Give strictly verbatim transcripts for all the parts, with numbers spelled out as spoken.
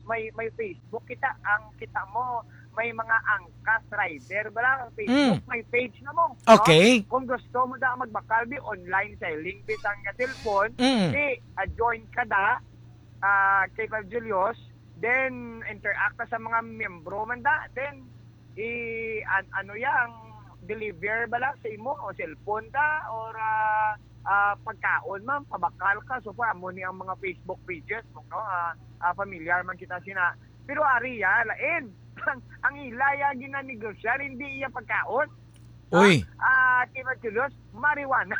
may, may Facebook kita, ang kita mo, may mga angkas rider, bala, ang Facebook, Mm. may page na mo, no? Okay. Kung gusto mo da magbakal, di online selling, bisang nga cellphone, Mm. di, ah, join ka da, ah, kay Pag Julius, then interact ka sa mga miyembro man da, then, i-, an-, ano ya, ang deliver bala sa imo, o cellphone da, or, ah, ah, pagkaon man, pabakal ka. So, far, amo ni ang mga Facebook pages, no? Ah, ah, familiar man kita sina. Pero ari ya, lain. Ang, ang ila ya ginanegosyar, hindi iya pagkaon. Uy. Ah, ah, kay Pag Julius, marijuana.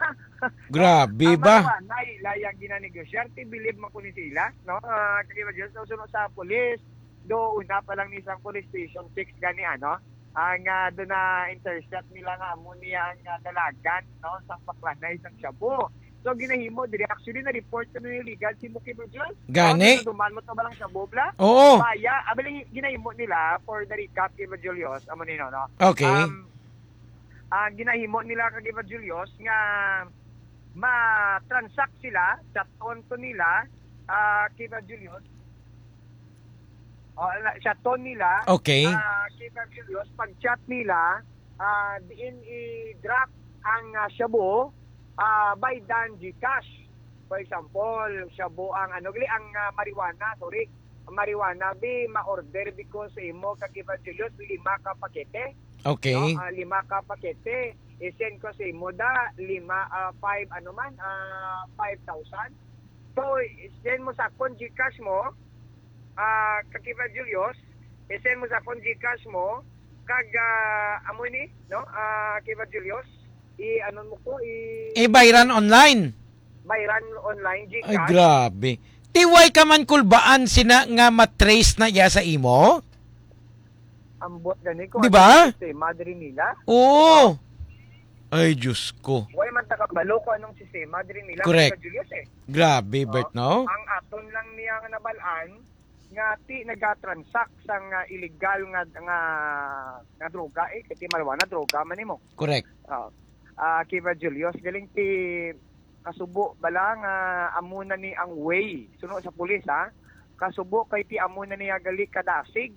Grabe Ang ba? marijuana, ila ya ginanegosyar. Ti believe man ko ni sila, no? Ah, kay Pag Julius, so, sunod sa police, do una pa lang ni isang police station, six gani, ano? Ang, ah, doon na intercept nila nga amo niya ang, ah, dalagan, no? Sang paklanay, sang shabu. So, ginahimo diri. Actually, na-report ko na yung legal si Muki Bujol. Gani? So, duman mo to ba lang shabu, bla? Oo. Baya, abali, ginahimo nila for the recap kay Julius, amo ni, no, no? Okay. Um, ah, ginahimo nila kay Julius nga ma-transact sila, chaton to nila, ah, kay Julius. Oh, ala, chaton nila, Okay. ah, kay Julius, pag-chat nila, ah, diin i-drop ang, ah, shabu, ah, by dan GCash. For example, shabu ang, ano, gali, ang, ah, marijuana, sorry. Marijuana, bi, ma-order bi ko sa imo, kag Evangelio, lima ka pakete. Okay. No? Ah, lima ka pakete. I-send ko sa imo da, lima, ah, five, ano man, ah, five thousand. So, i-send mo sa akon GCash mo, ah, kag Evangelio, i-send mo sa akon GCash mo, kag, ah, amo ni, no? Ah, kag Evangelio, i-, ano mo ko, i- Ibayran online. Bayran online, Ay, GCash. grabe. Ti way ka man kulbaan sina nga matrace na iya sa imo? Ambot gani ko Di ba? anong sistema diri nila. Oo. Ay, Diyos ko. Way man ta kabalo kung anong sistema diri nila, Correct. Kuya Julius, eh. Grabe, Oh, Bert, no? ang aton lang niya nga nabalaan, nga ti nagatransact sang, ah, illegal nga, nga, nga droga, eh. Kasi marijuana, droga man nimo. Correct. Ah, ah, Kiva Julius, galing ti kasubo bala nga amo na ni ang way. Suno sa pulis, ha? Kasubo kay ti amo na niya gali kadasig.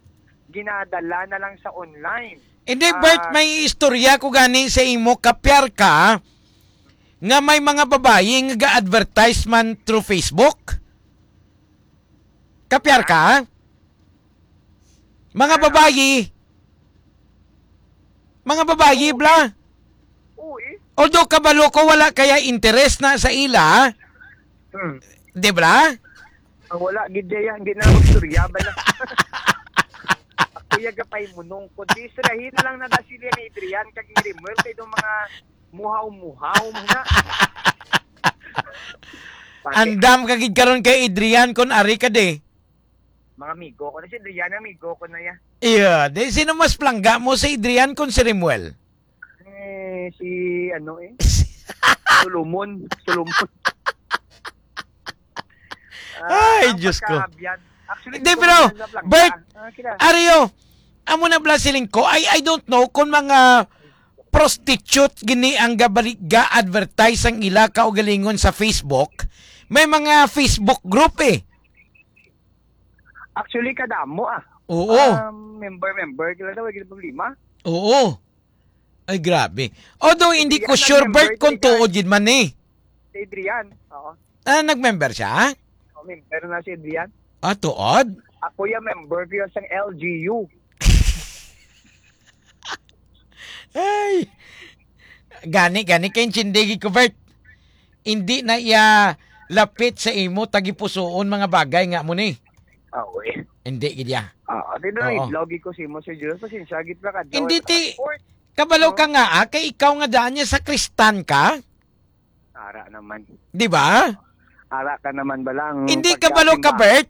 Ginadala na lang sa online. Hindi, Ah, Bert, may istorya ko gani sa imo. Kapyar ka nga may mga babayi nga ga-advertise man through Facebook? Kapyar ka? Mga Ano? babayi. Mga babayi, bla. Oo, eh. Although kabalo ko wala kaya interes na sa ila, Hmm. di bla? Ang wala gid diya, hindi na magstorya ba na? Ako ya gapay munong ko. Di surahin lang na da sila ni Adrian kag ni Rimuel kay do mga muhaw-muhaw mo na. Pati Andam ka gid karon kay Adrian kon ari ka di. Mga amigo ko na si Adrian, amigo ko na ya. Iya, di sino mas plangga mo, si Adrian kon si Rimuel? Eh, si ano eh? Solomon. Solomon. Ah, Ay, ang Diyos ko. pagkaabyan. Actually, Hindi, hindi ko pero, man na plangga. Bert, Ah, kila. Ario, amo na bla siling ko, I, I don't know kung mga prostitute gini ang gabali, ga-advertise ang ila kaugalingon sa Facebook. May mga Facebook group eh. Actually, kadamo ah. Oo. Um, member-member, kila daw, may problema. Oo. Ay, grabe. Although, hindi ko Adrian, sure, nag-member Bert, kung ka. tuod gid man eh. Si Adrian, oo. Ah, nag-member siya? Oh, member na si Adrian. Ah, tuod? Ako yung member ko yung sang L G U. Ay. Gani, gani, kay intindi ko, Bert. Hindi na iya lapit sa imo tagipusoon mga bagay nga mo ni. Ah, uy. Hindi gid ya. Ah, di na Oo. idlog ko si mo, Sir Jules. Pasensya, gid pa ka. Hindi, Daw ti, airport. kabalo Oo. ka nga, ah, kay ikaw nga daan niya sa Kristan ka? Ara naman. Di ba? Ara ka naman ba lang Hindi pagka kabalo ka, simba- Bert,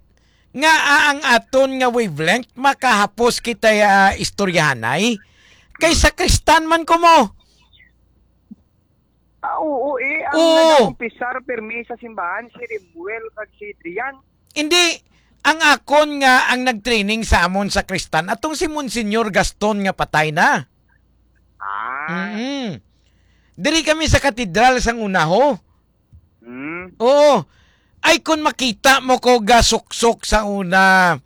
nga, ah, ang aton nga wavelength makahapos kita, ah, istoryahanay? Kay sa Kristan man ko mo. Ah, oo, eh. Ang Oo. nag-umpisar pirmi sa simbahan, si Rimuel kag si Adrian. Hindi. Ang akon nga ang nag-training sa amon sa Kristan, atong si Monsignor Gaston nga patay na. Ah. Mm-mm. Diri kami sa katedral sang una, ho. Hmm. Oo. Ay, kung makita mo ko gasuksok sa una,